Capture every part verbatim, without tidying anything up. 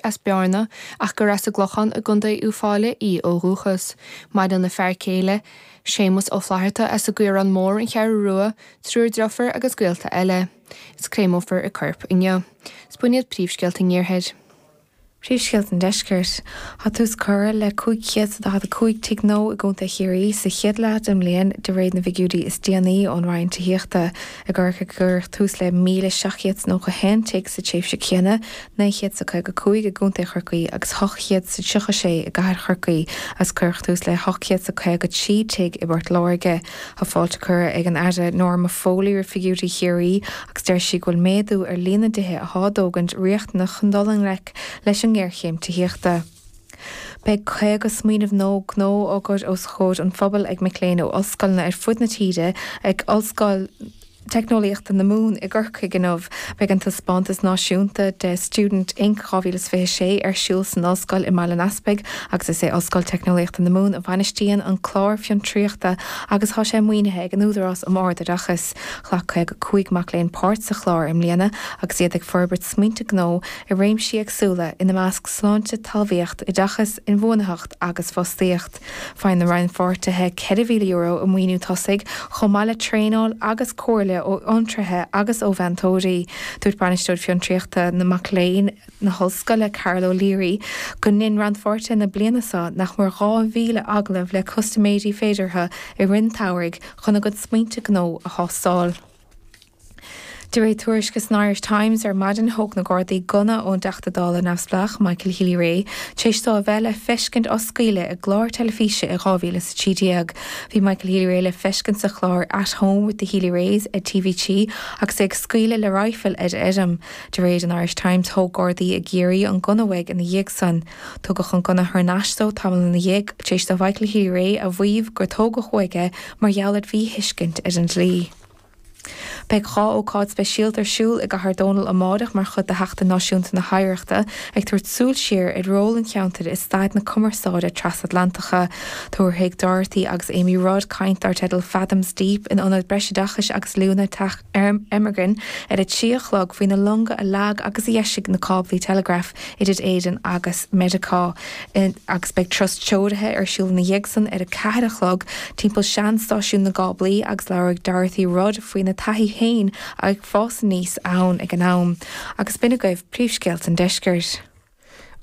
as Bearna ach gur as an gClochán i gContae Uíbh Fhailí í ó dhúchas. Maireann a fear céile, Séamus Ó Flatharta as an gCaorán Mór an Cheathrú Rua, triúr deirfiúr agus gaolta eile. Is créamófar a corp inniu. Is b'in iad príomhscéalta an iarthair. Príomhscéalta an deiscirt. Tá tús curtha le cúig chéad is daichead a cúig tigh nua i gContae Chiarraí sa chéad leath den mbliain de réir na bhfigiúirí is déanaí ón Roinn Tithíochta. I gCorcaigh cuireadh tús le míle seacht gcéad is nócha haon tigh sa tréimhse chéanna, naoi chéad is caoga cúig i gContae Chorcaí agus ocht gcéad is tríocha sé i gcathair Chorcaí agus cuireadh tús le hocht gcéad is caoga trí tigh i bPort Láirge. Tá fáilte curtha ag an Aire Norma Foley roimh figiúirí Chiarraí agus deir sí go bhfuil méadú ar líon na dtithe atá á dtógaint riachtanach chun dul i ngleic leis an ngéarchéim tithíochta. Beidh caoga smaoineamh nua gnó á gcur os comhair an phobail ag mic léinn ó ollscoileanna ar fud na tíre ag Ollscoil Teicneolaíochta na Mumhan i gCorcaigh inniu. Beidh an taispeántas náisiúnta de Student Inc dhá mhíle is fiche sé ar siúl san ollscoil i mBaile an Easpaig agus is é Ollscoil Teicneolaíochta na Mumhan a bhainistíonn an clár fiontraíochta agus tá sé maoinithe ag an Údarás um Ard-Oideachas. Ghlac caoga cúig mac léinn páirt sa chlár i mbliana agus iad ag forbairt smaointe gnó i réimsí éagsúla, ina measc sláinte, talmhaíocht, oideachas, inbhuanaitheacht agus fostaíocht. Faigheann na rannpháirtithe ceithre mhíle euro i maoiniú tosaigh, chomh maith le traenáil agus comhairle ó fhiontraithe agus ó mheantóirí. Dúirt Bainisteoir Fiontraíochta na Mac Léinn na hOllscoile, Carol O'Leary, go ndein rannpháirtithe na bliana seo nach mór dhá mhíle agallamh le custaiméirí féideartha i rith an tsamhraidh chun a gcuid smaointe gnó a thástáil. De réir tuairisce san Irish Times ar maidin, thóg na Gardaí gunna ón dTeachta Dála neamhspleách Michael Healy-Rae tar éis dó a bheith le feiscint á scaoileadh i gclár teilifíse i dhá mhíle is a trí déag. Bhí Michael Healy-Rae le feiscint sa chlár At Home with the Healy-Raes ar T V trí agus é ag scaoileadh le raidhfil ar fheirm. De réir an Irish Times, thóg Gardaí i gCiarraí an gunna uaidh ina dhiaidh san. Tugadh an gunna thar n-ais dó tamall ina dhiaidh tar éis do Mhichael Healy-Rae a mhaíomh gur tógadh uaidh é mar gheall ar mhíthuiscint ar an dlí. Beidh dhá ócáid speisialta ar siúl i gCathair Dónall amárach mar chuid de Sheachtain Náisiúnta na hOidhreachta, ag tabhairt súil siar ar ról an cheantair i stair na cumarsáide trasatlantacha. Tabharfaidh Dorothy agus Amy Rudd caint dar teideal Fathoms Deep in Ionad Breisoideachais agus Oiliúna Teach Ermigrin ar a trí a chlog faoi na longa a leag agus a dheisigh na cáblaí teileagraif idir Éirinn agus Meiriceá. Agus beidh turas treoraithe ar siúl ina dhiaidh san ar a ceathair a chlog timpeall sean-stáisiún na gcáblaí agus labhróidh Dorothy Rudd faoina taithí féin ag fás aníos ann ag an am. Agus b'in agaibh príomhscéalta an deiscirt.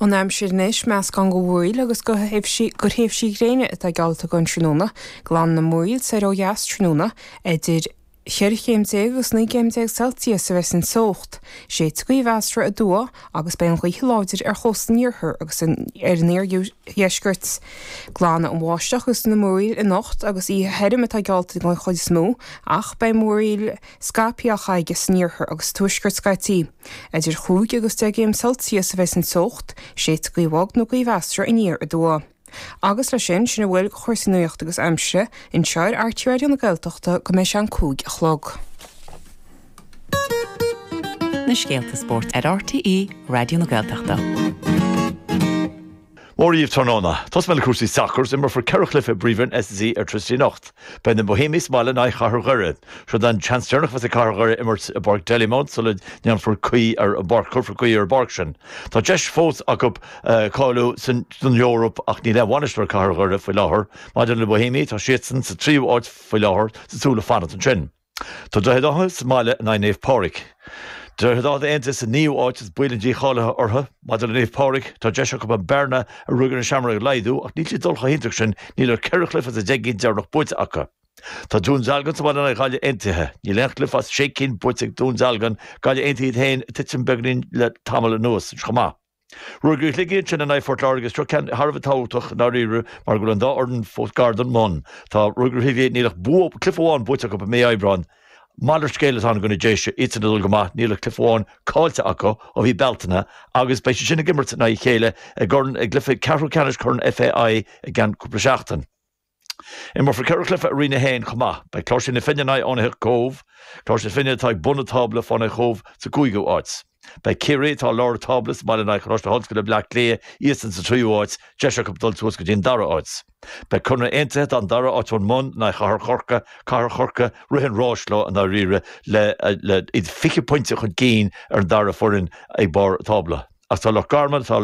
An aimsir anois, meascán de mhúraíl agus de thréimhsí gréine atá geallta don tráthnóna, glanfaidh na múraíl soir ó dheas tráthnóna, idir cheithre chéim déag agus naoi gcéim déag Celsius a bheas an teocht. Séidfidh gaoth mheasartha aduaidh agus beidh an ghaoth láidir ar chósta an iarthair agus ar an iardheisceart. Glanfaidh an bháisteach agus na múraíl anocht agus oíche thirim atá geallta den chuid is mó, ach beidh múraíl scaipthe á caitheamh san iarthar agus sa tuaisceart scaití. Idir chúig agus deich gcéim Celsius a bheas an teocht, séidfidh gaoth bhog nó gaoth mheasartha aniar aduaidh. Agus leis sin, sin a bhfuil de chúrsaí nuachta agus aimsire anseo ar R T Raidió na Gaeltachta go mbeidh sé an cúig a chlog. Na scéalta spóirt ar R T E Raidió na Gaeltachta. Mór dhaoibh tráthnóna. Tosóidh mé le cúrsaí sacair, imreofar ceithre chluiche i bPríomhroinn S C Airtricity anocht. Beidh na Bohemians sa mbaile in aghaidh Chathair Dhoire. Seo an seans deireanach a bheas ag Cathair Dhoire imirt i bPáirc Dalymount sula ndéanfar caoi ar an bpáirc, cuirfear caoi ar an bpáirc sin. Tá deis fós acu cáiliú don Eoraip ach níl aon bhainisteoir ag Cathair Dhoire faoi láthair. Maidir le Bohemians, tá siadsan sa tríú háit faoi láthair sa tsúil le fanacht ansin. Tá Droichead Átha sa mbaile in aghaidh Naomh Pádraig. Droichead Átha Aontaithe sa naoú háit is baol an dícháilithe orthu. Maidir le Naomh Pádraig, tá deis acu an bearna a rugadh na Seamróg a laghdú ach níl siad dul chomh hiontach sin, níl ach ceithre chluiche as an deich gcinn deireanach buaite acu. Tá Dún Dealgan sa mbaile in aghaidh Ghaillimh Aontaithe. Níl aon chluiche as sé cinn buaite ag Dún Dealgan, Gaillimh Aontaithe iad féin ag titim beagáinín le tamall anuas chomh maith. Ruaidhrí Shligigh ansin in aghaidh Phort Láirge, seo ceann thar a bheith tábhachtach i ndáiríre mar go bhfuil an dá fhoireann fós gar don mbun. Tá Ruaidhrí Shligigh, níl ach bua, cluiche amháin buaite acu i mí Aibreáin. Malairt scéil atá ann i gcoinne Déise, iadsan ag dul go maith, níl ach cluiche amháin caillte acu ó mhí Bealtaine agus beidh siad sin ag imirt in aghaidh a chéile i gCorn, i gcluiche ceathrú ceannais Chorn F A I i gceann cúpla seachtain. Imreofar ceithre chluiche i Roinn a haon chomh maith. Beidh Cláirsigh na Finne in aghaidh Fhánaithe Cóbh, Cláirsigh na Finne atá ag bun an tábla, Fánaithe Chóbh sa gcúigiú háit. Beidh Ciarraí atá i lár an tábla sa mbaile in aghaidh Choláiste na hOllscoile Bleá Cliath, iadsan sa tríú háit, deis acu dul suas go dtí an dara háit. Beidh Conradh Aontaithe atá an dara háit ón mbun in aghaidh Chathair Chorca, Cathair Chorca rith an ráis leo i ndáiríre le le iad fiche pointe chun cinn ar an dara foireann ag barr an tábla. Ach tá Loch Garman atá